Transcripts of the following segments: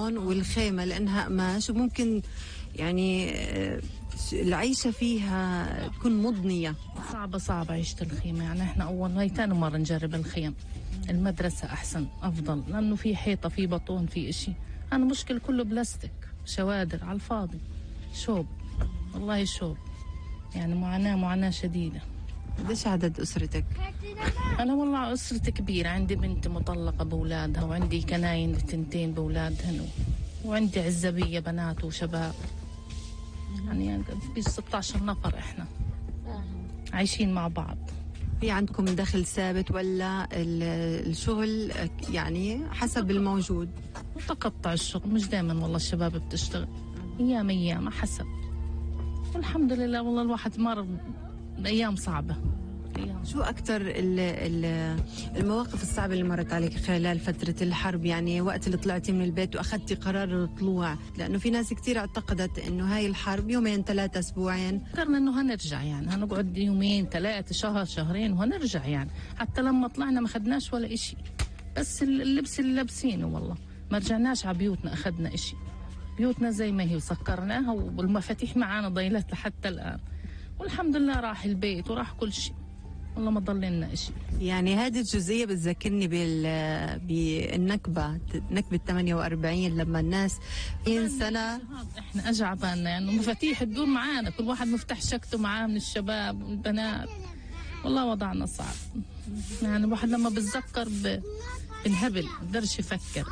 البطون والخيمة لأنها قماش وممكن يعني العيشة فيها تكون مضنية. صعبة عيشة الخيمة. يعني احنا هاي تاني مرة نجرب الخيم. المدرسة أحسن أفضل لأنه في حيطة في بطون في إشي. أنا مشكل كله بلاستيك شوادر على الفاضي شوب والله شوب. يعني معاناة شديدة. قديش عدد أسرتك؟ أنا والله أسرتي كبيرة. عندي بنت مطلقة بأولادها وعندي كناين 2 بأولادهن وعندي عزبية بنات وشباب. يعني في 16 نفر إحنا عايشين مع بعض. في عندكم دخل ثابت ولا الشغل يعني حسب الموجود؟ متقطع الشغل مش دائما والله الشباب بتشتغل أيام حسب. والحمد لله والله الواحد مر بأيام صعبة. شو أكتر المواقف الصعبة اللي مرت عليك خلال فترة الحرب؟ يعني وقت اللي طلعتي من البيت وأخذتي قرار الطلوع، لأنه في ناس كتير اعتقدت إنه هاي الحرب 2-3 أسبوعين. فكرنا إنه هنرجع يعني هنقعد 2-3 شهر شهرين وهنرجع يعني. حتى لما طلعنا ما خدناش ولا إشي بس اللبس اللي لابسينه والله ما رجعناش على بيوتنا أخدنا إشي. بيوتنا زي ما هي وسكرناها والمفاتيح معانا ضيلت لحتى الآن والحمد لله راح البيت وراح كل شيء والله ما ضل لنا شيء. يعني هذه الجزئية بتذكرني بالنكبة نكبة 48 لما الناس 20 سنة احنا اجى عبالنا يعني مفاتيح تدور معانا كل واحد مفتاح شكته معاه من الشباب والبنات. والله وضعنا صعب. يعني الواحد لما بتذكر بنهبل بقدرش يفكر.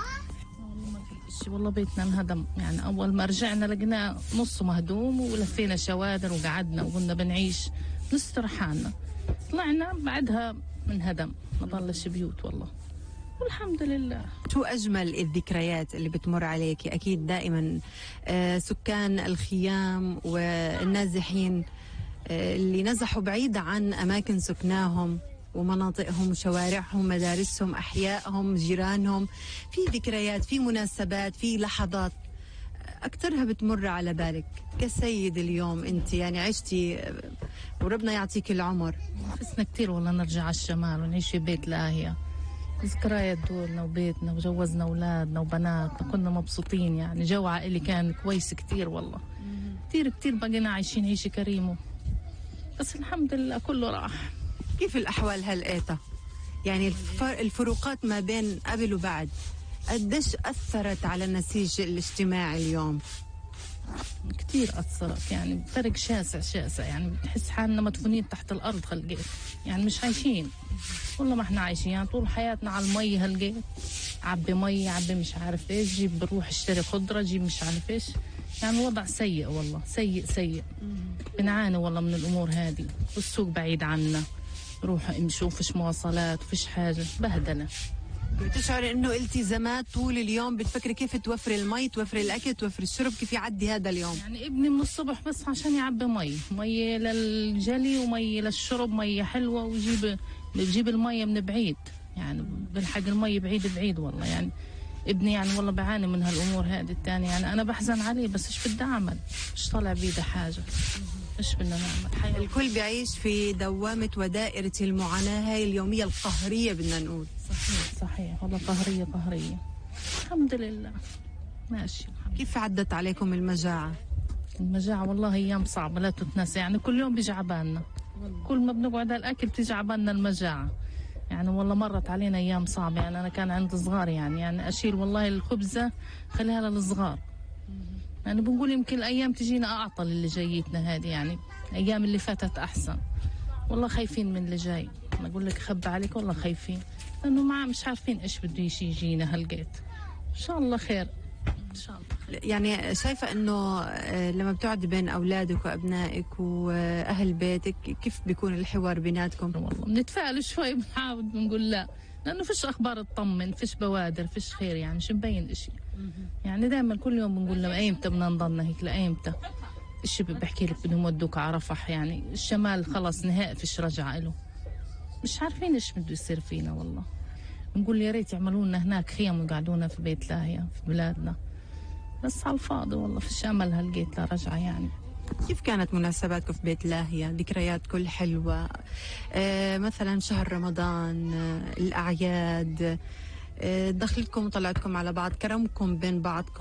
والله بيتنا انهدم. يعني أول ما رجعنا لقينا نصه مهدوم ولفينا شوادر وقعدنا وقلنا بنعيش نستر حالنا. طلعنا بعدها منهدم ما ضلش بيوت والله والحمد لله. شو أجمل الذكريات اللي بتمر عليك؟ أكيد دائما سكان الخيام والنازحين اللي نزحوا بعيد عن أماكن سكناهم ومناطقهم وشوارعهم مدارسهم أحيائهم جيرانهم، في ذكريات في مناسبات في لحظات أكثرها بتمر على بالك كسيد اليوم أنت يعني عشتي وربنا يعطيك العمر. نفسنا كتير والله نرجع على الشمال ونعيش في بيت لاهية. ذكريات دولنا وبيتنا وجوزنا أولادنا وبناتنا كنا مبسوطين. يعني جو عائلي كان كويس كتير والله كتير بقينا عايشين عيشة كريمة بس الحمد لله كله راح. كيف الأحوال هلقيتها؟ يعني الفروقات ما بين قبل وبعد قديش أثرت على النسيج الاجتماعي اليوم؟ كتير أثرت. يعني فرق شاسع يعني بنحس حالنا مدفونين تحت الأرض هلقيت. يعني مش عايشين والله ما احنا عايشين. يعني طول حياتنا على المي هلقيت عبي مي عبي مش عارف ايش جيب بروح اشتري خضرة جيب مش عارف ايش. يعني الوضع سيء والله سيء. بنعاني والله من الأمور هذه والسوق بعيد عنا روح امشوا فيش مواصلات وفيش حاجة بهدلة. بتشعري انه التزامات طول اليوم بتفكري كيف توفري المي توفري الاكل توفري الشرب كيف يعدي هذا اليوم؟ يعني ابني من الصبح بس عشان يعبي مي للجلي ومي للشرب مي حلوة بجيب المي من بعيد. يعني بنحق المي بعيد والله. يعني ابني يعني والله بعاني من هالامور هذه الثانية. يعني انا بحزن عليه بس ايش بدي اعمل؟ مش طالع بيده حاجة ايش بدنا نعمل؟ الكل بيعيش في دوامة ودائرة المعاناة هاي اليومية القهرية بدنا نقول. صحيح والله قهرية الحمد لله ماشي. كيف عدت عليكم المجاعة والله ايام صعبة لا تتنسى. يعني كل يوم بيجي عبالنا كل ما بنقعد على الاكل بتيجي عبالنا المجاعة. يعني والله مرت علينا ايام صعبة. يعني انا كان عندي صغار يعني اشيل والله الخبزة خليها للصغار. يعني بنقول يمكن الأيام تجينا أعطل اللي جايتنا هذه. يعني أيام اللي فاتت أحسن. والله خايفين من اللي جاي. أنا أقول لك خب عليك والله خايفين لأنه مش عارفين إيش بده يجينا هالقيت. إن شاء الله خير إن شاء الله. يعني شايفة إنه لما بتقعدي بين أولادك وأبنائك وأهل بيتك كيف بيكون الحوار بيناتكم؟ والله بنتفائل شوي بنحاول بنقول لا لأنه فيش أخبار تطمن فيش بوادر فيش خير. يعني مش مبين إشي. يعني دائما كل يوم بنقول لهم أيمتى بدنا نضلنا هيك لأيمتى؟ إيش بحكي لك بدهم يودوك على رفح. يعني الشمال خلص نهائي فيش رجعة له. مش عارفين إيش بده يصير فينا والله. بنقول يا ريت يعملوا لنا هناك خيم ويقعدونا في بيت لاهية في بلادنا بس على الفاضي والله فيش أمل هلقيت لا رجعة. يعني كيف كانت مناسباتكم في بيت لاهية؟ ذكريات كل حلوة مثلا شهر رمضان الأعياد دخلتكم وطلعتكم على بعض كرمكم بين بعضكم